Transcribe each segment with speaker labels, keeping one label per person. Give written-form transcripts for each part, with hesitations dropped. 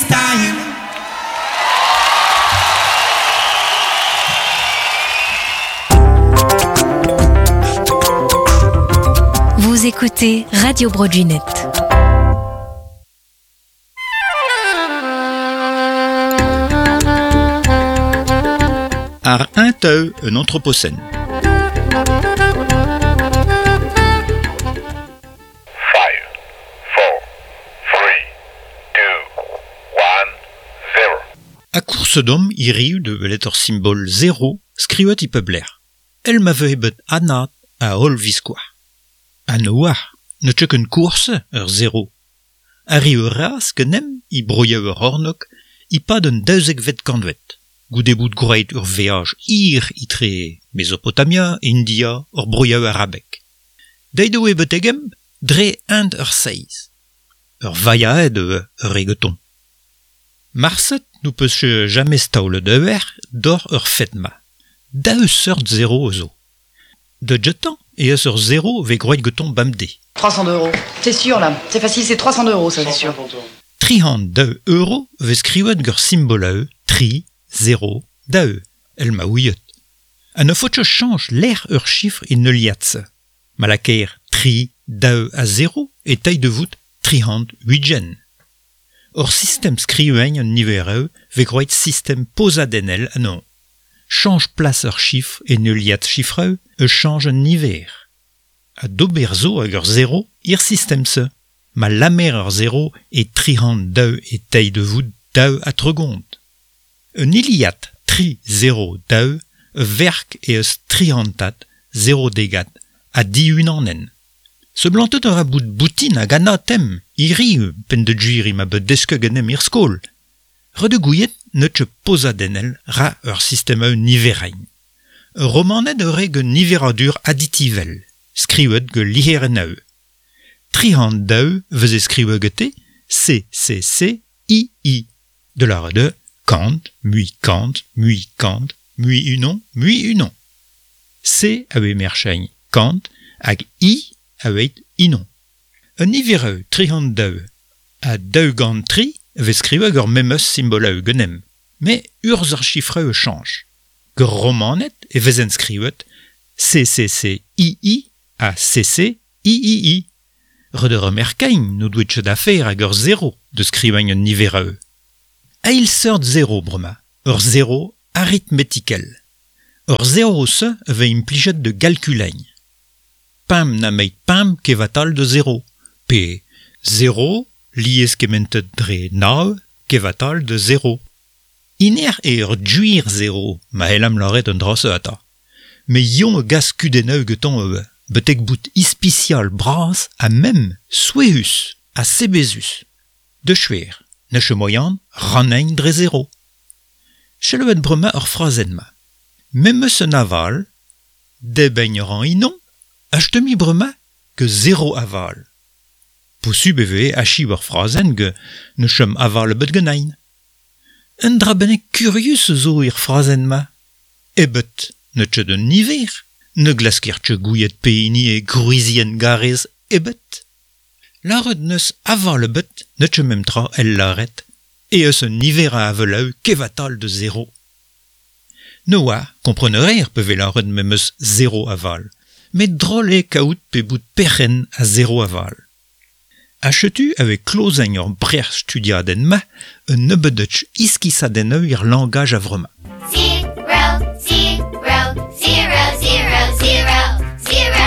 Speaker 1: time.
Speaker 2: Vous écoutez Radio Broadwaynet.
Speaker 3: Ar un teu un anthropocène.
Speaker 4: Five, four, three, two, one, zero.
Speaker 3: A course d'homme hiriv de welet ur simbol zero skrivet e pep lec'h. El ma vehe bet anat a holl viskoazh. Ha ne oar, ne teu ket course ur zero. Arri ur raz genem e broioù ur c'hornôg e-pad an daouzekvet kantved, goude bout gwraet ur veaj hir etre Mezopotamia, India, ur broioù arabek. Deuet eo betegemp dre hent ur seiz. Ur vailhaed eo ur re gantañ. Marset n'ho peus ket james taolet eur doc'h ur fed-ma. Daou seurt zero zo. Da gentañ eh eus ur zero vez gwraet gantañ bemdez.
Speaker 5: 300 euros. C'est sûr là, c'est facile, c'est 300 euros, ça c'est sûr.
Speaker 3: Tri-c'hant daou euro vez skrivet gant simbol a tri, zero, daou, el ma ouiet. Ha ne faot ket chañch lec'h ur chifr e neuliad-se. Ma lakaer tri, daou ha zero e tay da vout tri-c'hant ugent. Ur sistem skrivañ an niveroù vez gwraet sistem pozadennel anezhañ. Chañch plas ur chifr e neuliad chifroù e chañch an niver. Ha d'ober zo hag ur zero er sistem-se. Ma lamer ur zero e tri-c'hant daou e tay da vout daou ha tregont. Un hiliad tri zero daou e verk eh eus tri-c'hantad zero degad ha div unanenn. Seblantet a ra bout boutin hag anatem, hiriv penn da gwir ema bet desket ganeomp er skol. Ret eo gouiet n'eus ket pozadennel ra ur sistem eus niverenn. Ur romaned eo re gant niveradur additivel, skrivet gant lizherennoù. Tri-c'hant daou veze skrivet gante C, C, C, I, I. Da lâret eo kant, mui kant, mui kant, mui unan, mui unan. C a vez merchañ kant hag I a vez unan. Un niveroù tri-c'hant daou ha daou gant tri a vez skrivet gant ar memes simboloù ganeomp, met urzh ar chifroù a chañch. Gant romaned e vezent skrivet C, C, C, I, I ha C, C, I, I, I. Ret eo remerkañ n'o doe ket afer hag ur zero da skrivañ an niveroù. Eil seurt zero bremañ, ur zero aritmetikel. Ur zero-se a vez implijet da galkulañ. Pemp nemet pemp kevatal da zero, pe zero lieskementet dre nav kevatal da zero. Hiner eo ur gwir zero, ma c'hellamp lâret an dra-se atav. Met Yann a gas kudennoù gantañ ivez, betek bout ispisial bras ha mem souezhus ha sebezus. Da skouer, n'eus ket moian rannañ dre zero. Selaouet bremañ ur frazenn-mañ. Memes un aval, debriñ a ran unan, ha stummiñ bremañ ke zero aval. Posubl e vez achiv ur frazenn gant ne chom aval ebet ganin. Un dra bennak kurius zo er frazenn-mañ. Ebet n'eus ket un niver, ne glasker ket gouiet pehini eo gwrizienn garrez ebet. Lâret n'eus aval ebet n'eus ket memes tra el lâret eh eus un niver a avaloù kevatal da zero. Ne oa, kompren a reer pe vez lâret memes zero aval, met drol eo kaout pe bout perc'henn a zero aval. Ha setu a vez klozañ ur brec'h studiadenn-mañ un nebeudch iskisadennoù er langaj a-vremañ.
Speaker 6: Zero, zero, zero, zero, zero, zero.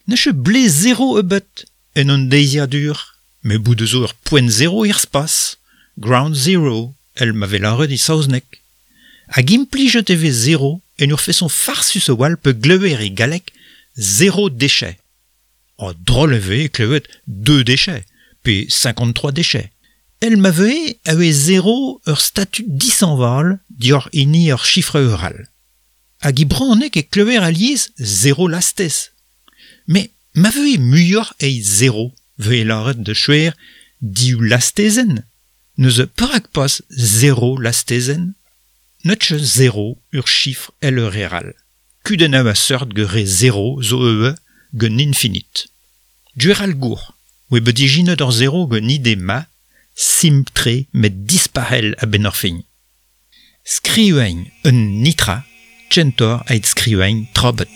Speaker 3: N'eus ket blez zero ebet en hon deiziadur, met bout zo ur poent zero er spas, ground zero, èl ma vez lâret e saozneg. Hag implijet e vez zero en ur feson farsus a-walc'h pe glever e galleg zéro déchet. Oh, drol e vez klevet deux déchets, pe 53 déchets. El ma vez a vez zero ur statut dishañval dioc'h hini ur chifr eural. Hag e brezhoneg e klever alies zero lastez. Met ma vez muioc'h eget zero, vez lâret da skouer div lastezenn. Neuze perak pas zero lastezenn? N'eus ket zero ur chifr èl ur re all. Kudennoù a seurt gant re zero zo ivez gant infinit. Gwir all gour, oa bet ijinet ur zero gant ide ma, Simpl-tre met dispac'hel a-benn ar fin. Skrivañ un nitra, kentoc'h evit skrivañ trabet.